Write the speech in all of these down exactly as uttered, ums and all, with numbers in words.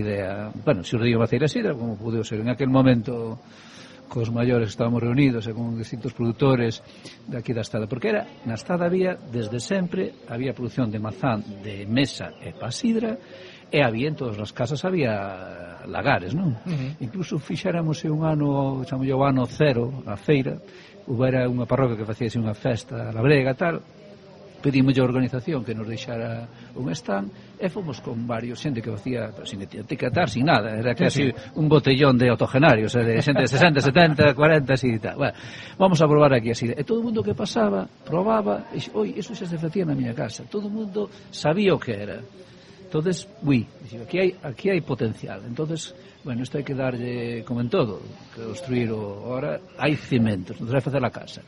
idea, bueno, xurdiu Maceira Sidra, como pudeu ser en aquel momento cos maiores estábamos reunidos e con distintos produtores de aquí da Estada, porque era, na Estada había, desde sempre, había produción de mazán de mesa e pa sidra, e había en todas as casas había lagares, non? Uh-huh. Incluso fixéramos un ano, chamo o ano cero, a feira, houbera unha parroquia que facíase unha festa labrega, tal, pedimos a organización que nos deixara un stand e fomos con varios xente que facía sin etiquetar, sin nada, era casi sí, sí. un botellón de autogenarios, de xente de sesenta, setenta, cuarenta así e tal. Bueno, vamos a probar aquí así. E todo o mundo que pasaba, probaba, e oi, eso xa se facía na miña casa. Todo o mundo sabía o que era. Entonces, ui, aquí hai, aquí hai potencial. Entonces, bueno, isto hai que darlle, como en todo, que construir o, ahora hai cimentos, non se vai facer a casa.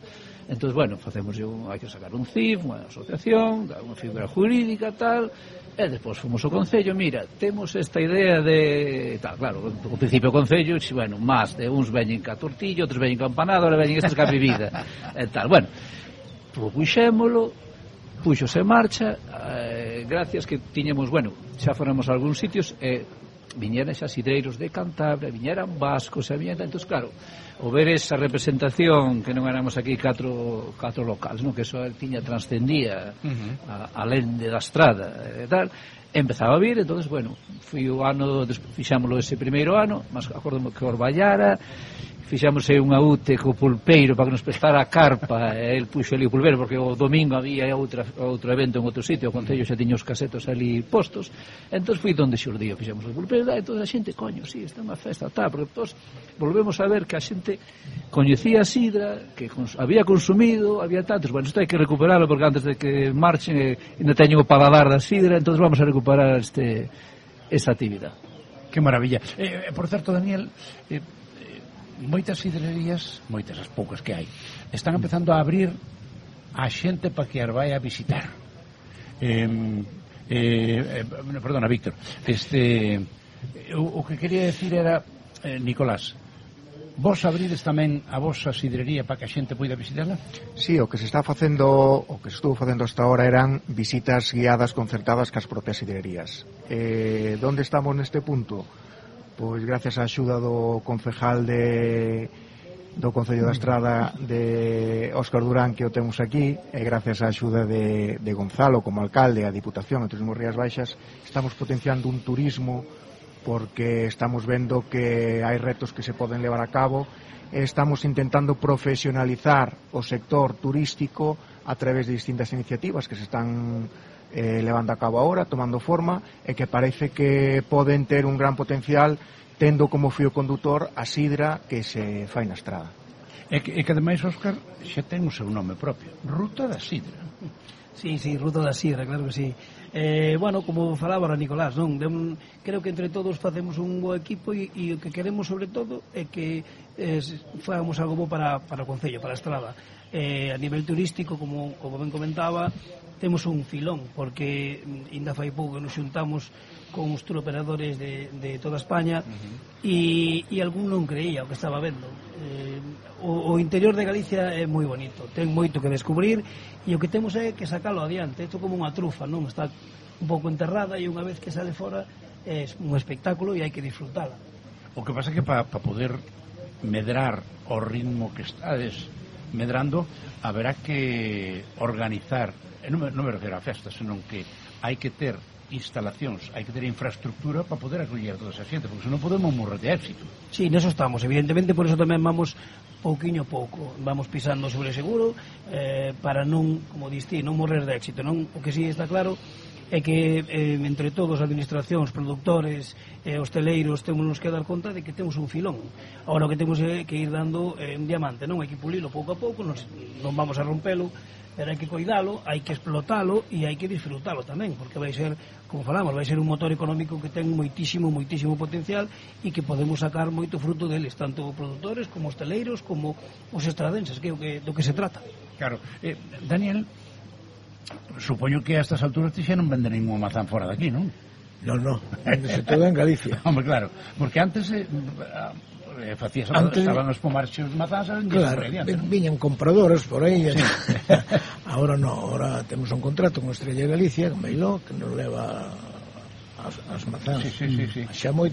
Entón, bueno, facemos un, hai que sacar un C I F, unha asociación, unha figura jurídica, tal, e despois fomos ao Concello, mira, temos esta idea de... tal, claro, ao principio o Concello, bueno, máis de uns veñen ca tortillo, outros veñen ca empanado, ahora veñen estes ca bebida, e tal, bueno, propuxémolo, puxose en marcha, eh, gracias que tiñemos, bueno, xa foramos a algúns sitios, e eh, viñeran xa sidreiros de Cantabria, viñeran vascos, e viñeran, entón, claro, o ver esa representación que non éramos aquí catro, catro locales, non? Que eso tiña transcendía uh-huh. a, alén de da estrada e tal, empezaba a vir, entonces, bueno, fui o ano, fixámoslo ese primeiro ano, mas acordome que Orballara, fixamos unha U T E co pulpeiro para que nos prestara a carpa, e el puxo ali o pulpeiro porque o domingo había outra, outro evento en outro sitio, o Concello xa tiña os casetos ali postos, entón fui donde xurdío, fixamos o pulpeiro, e toda a xente, coño, si, sí, está unha festa, tal, porque todos volvemos a ver que a xente coñecía a sidra, que cons había consumido, había tantos, bueno, isto hai que recuperarlo porque antes de que marchen eh, ainda teño o paladar da sidra, entón vamos a recuperar este esta actividade. Que maravilla. Eh, por certo, Daniel, eh, moitas sidrerías, moitas as poucas que hai, están empezando a abrir a xente para que as vai a visitar. Eh, eh, perdona, Víctor, este, o, o que quería decir era, eh, Nicolás, vos abrides tamén a vosa sidrería para que a xente poida visitarla? Sí, o que se está facendo, o que se estuvo facendo hasta ahora eran visitas guiadas concertadas cas propias sidrerías. Eh, donde estamos neste punto? Pois gracias á axuda do concejal de, do Concello da Estrada de Óscar Durán, que o temos aquí, e gracias á axuda de, de Gonzalo como alcalde, a Diputación, a Turismo Rías Baixas, estamos potenciando un turismo porque estamos vendo que hai retos que se poden levar a cabo e estamos intentando profesionalizar o sector turístico a través de distintas iniciativas que se están Eh, levando a cabo agora, tomando forma, e que parece que poden ter un gran potencial tendo como fío condutor a sidra que se fai na Estrada. E que, e que ademais, Óscar, xa ten o seu nome propio, Ruta da Sidra. Sí, sí, Ruta da Sidra, claro que sí. Eh, bueno, como falaba a Nicolás, non? De un, creo que entre todos facemos un bo equipo e, e o que queremos sobre todo é que eh, fagamos algo bo para, para o Concello, para a Estrada. Eh, a nivel turístico, como, como ben comentaba, temos un filón, porque ainda fai pouco nos xuntamos con os turoperadores de, de toda España uh-huh. e, e algún non creía o que estaba vendo. Eh, o, o interior de Galicia é moi bonito, ten moito que descubrir e o que temos é que sacalo adiante. Isto como unha trufa, non? Está un pouco enterrada e unha vez que sale fora é un espectáculo e hai que disfrutala. O que pasa é que para pa poder medrar o ritmo que estades medrando, haberá que organizar, non me, non me refiro a festas, senón que hai que ter instalacións, hai que ter infraestructura para poder acoller a toda esa xente, porque senón podemos morrer de éxito. Sí, neso estamos, evidentemente, por eso tamén vamos pouquiño pouco, vamos pisando sobre seguro eh, para non, como diste, non morrer de éxito, non? O que sí está claro é que eh, entre todos, administracións, productores, eh, hosteleiros, temos que dar conta de que temos un filón. Agora o que temos é que ir dando eh, un diamante, non? Hai que pulilo pouco a pouco, nos, non vamos a rompelo, pero hai que cuidalo, hai que explotalo e hai que disfrutalo tamén, porque vai ser, como falamos, vai ser un motor económico que ten moitísimo, moitísimo potencial e que podemos sacar moito fruto deles, tanto produtores como hosteleiros como os estradenses, que é o que, do que se trata. Claro. Eh, Daniel, supoño que a estas alturas ti xa non vende ningún mazán fora daqui, non? Non, non, vendese todo en Galicia. Hombre, claro, porque antes eh, eh, facías, antes estaban os pomarxos mazáns, claro, viñan compradores por aí. Sí. Ahora non, ahora temos un contrato con Estrella de Galicia, con Meiló, que nos leva a as, as mazás. Sí, sí, sí, sí. Xa moi